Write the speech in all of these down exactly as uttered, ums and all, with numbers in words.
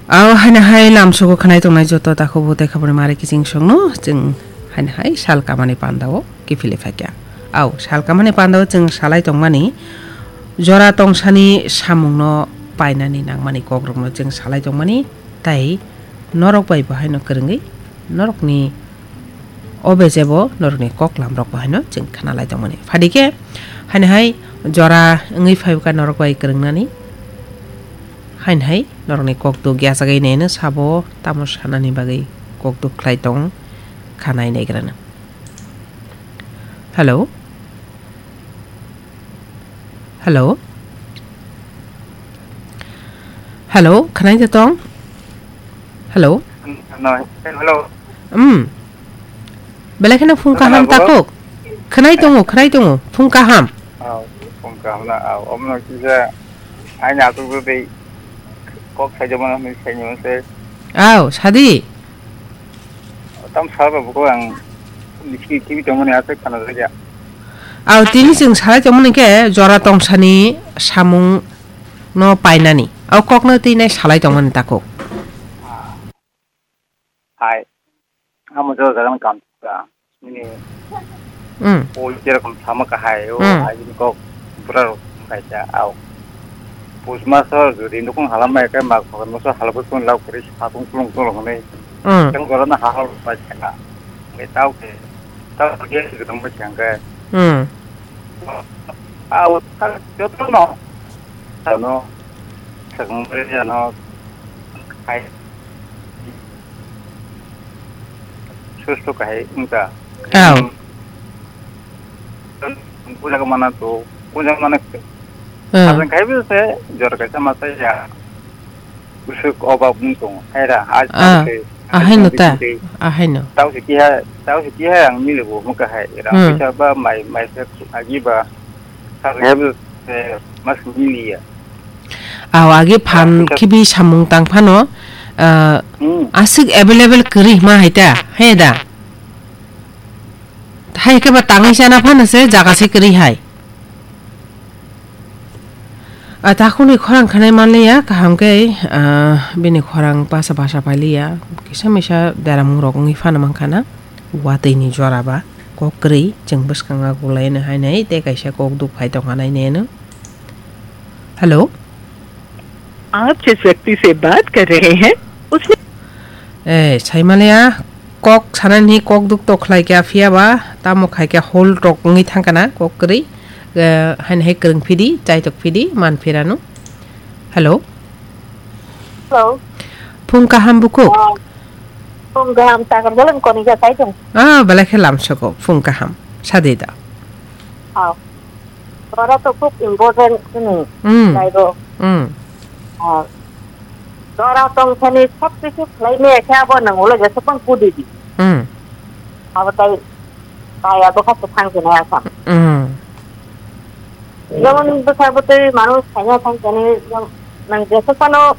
Aw, haino hai lamsogo khwnai tongnai joto takhuk butai khaboni mari kiching songno chwng haino hai sal kamani pandao kiphilwi phaikha. Aw, sal kamani pandao chwng salai tongmani jora tongsani samungno painani nangmani kokrokno chwng salai tongmani, tai norok bai bo haino kwrwngwi norokni o bejebo norokni koklamrok bo haino chwng khnalai tongmani. Phadikhe haino hai jora wngwi phaikha norok bai kwrwngnani. Haino hai norokni kokduk yachagwi neno sabo tamo sanani bagwi kokduk khlai tong kha nai naigrana. Hello? Hello? Hello, khwnai da tong? Hello? Hello, hello. Um. Belai kheno phung kaham Hello, bro. Takhuk. Khwnai tongo, khwnai tongo. Phung kaham. Aw, phung kaham na, aw, omno kisa aini atuk tei kok saijak mano hinwi saini mano se. Aw, sadi. Tam sal ba buko ang bisi kibi tongmani aswk khana jakya. Aw, tini chwng salai tongmani khe jora tongsani samung no painani. Aw kokno twi nai salai tongmani takhuk. Hai. Amo jora jora kam ka. Ini. Hmm. O jerokom sama kahai, o Hmm. Hai ini kok bura rok kaisa, au. Pus maso jodi nukung halam mai kai mak phakan maso halabus pun lau kari sapung kulung kulung hwnwi. Hmm. Yang jora na hal bai sanga. Ngai tau ke. Tau ke gedang bai sanga. Hmm. Au, joto no. Ano. Sakang bai ano. Hai. Susto kahai wngkha. Aw. Puja ko mana to, puja mana. Ah. Aswk khai bo se jor kaisa masa ya. Usuk oba bung tong. Hai ra, a, Ah, se, ahai no ta, bising tei. Ahai no. Tau se kiha, tau se kiha ang mile bo muka hai. Ra Hmm. Puja ba mai, mai se agi ba. Aswk khai bo se mas mili ya. Aw, agi phan Ah, khibi samung tang phano, ah, Hmm. Aswk available kwrwi hima hai ta, he da? Hai khe ba tangwi chana phano se jaga se kwrwi hai. Ah, takhukni khorang khanai manliya, kaham khe, ah, bini khorang basa basa pailiya, kisa misa deramung rok wngwi phano mankha na, watwi ni jora ba, kok kwrwi, chwng bwskango gulai no hai nai, tei kaisa kok duk phai tongkha nai neno. Hello? आप जिस व्यक्ति से बात कर रहे हैं, उसने Eh, saimaliya, kok sanani kok duk tok khlai kya phiya ba, tamo khai kya hol tok wngwi thangkana, kok kwrwi, eh, haino hai kwrwng phidi, chaitok phidi, man phirano. Hello? Hello? Phung kaham bukhuk? Ah, phung kaham, takar bolong koni ja sai tong. Ah, belai khe lamsoko, phung kaham. Sadi da. Ah. Jora to khub important chini. Hmm. Naibo. Hmm. Ah. Jora tong thani sob kichu khlai me khe abo nang ulo jesa pang kudi di. Hmm. Abo tai, tai abo kha se thang kene asam. Hmm. Jemon bwsa bwtwi manus khaina thang kene, jemon nang jesa phano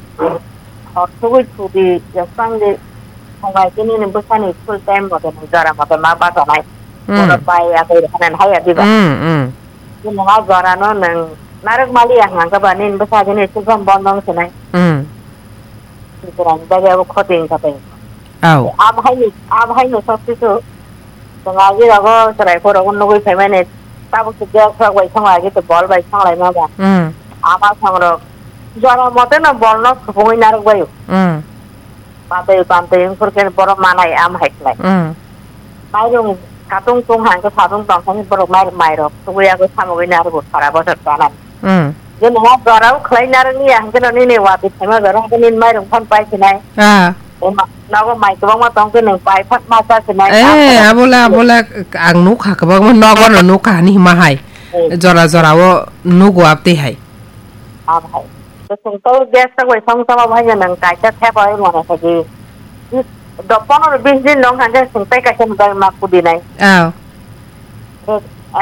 hor thugwi thudi, jesa phang di, thang bai kene ni bwsani full time mote nang jora mote ma bacha nai. Hmm. Oro pai ya koi hanan hai ya diba. Hmm, hmm. Nini ha jora no nwng narwk maliya hwnka ba nini bwsa gini silbam bondong sinai. Hmm. Jora ni bagwi abo khoti wngkha tei. Au. Abo hai ni, abo hai no sob kisu. Nwng agi rogo chwrai phuru rogo nugwi phaimani. Tabuk se gas rok bai song agi to bol bai song lai ma ba. Hmm. Ama song rok. Jora mote no bol no supungwi narwk bai. Hmm. Batwi bantwi wngkhor khe borok manai am hai khlai. Mm. Mairung katung tung hang khe satung tong thani borok mairung mairok tugui agui samugui narwgo sara bosor chanani. Mm. Je nungma jorao khlai narwkni ya hwnkhe no nini watwi phaima jora hwnkhe nini mairung phano pai sinai. Ah. Ema, nogo mai kwbangma tong khe nwng pai phano ma cha sinai. Eh, abola, abola ang nukha kwbangma nogo no nukha ani hima hai. Eh. Jora jorao nugo abtwi hai. Am hai. Chwng to gas ta bai song sama bai nang kaisa thep bai mane khaji. Dopon ro bis din long hanje chwng tai kaisa bai ma kudi nai. Aw.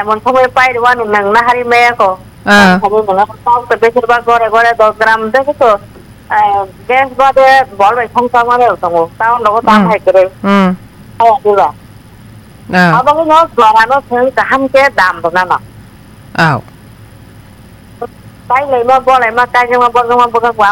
Emon somoi pai rwani nang nahari maya ko. Aw. Khaji nang tau to besir ba gore gore dos gram de ko. Gas ba de bol bai song sama de tongo. Tau logo tam Hmm. Hai kere. Hmm. Hai diba. Aw. Abo no jora no chwng kaham ke dam rwna no. Aw. Pai lai ma bo lai ma kai ma bo ma bo ka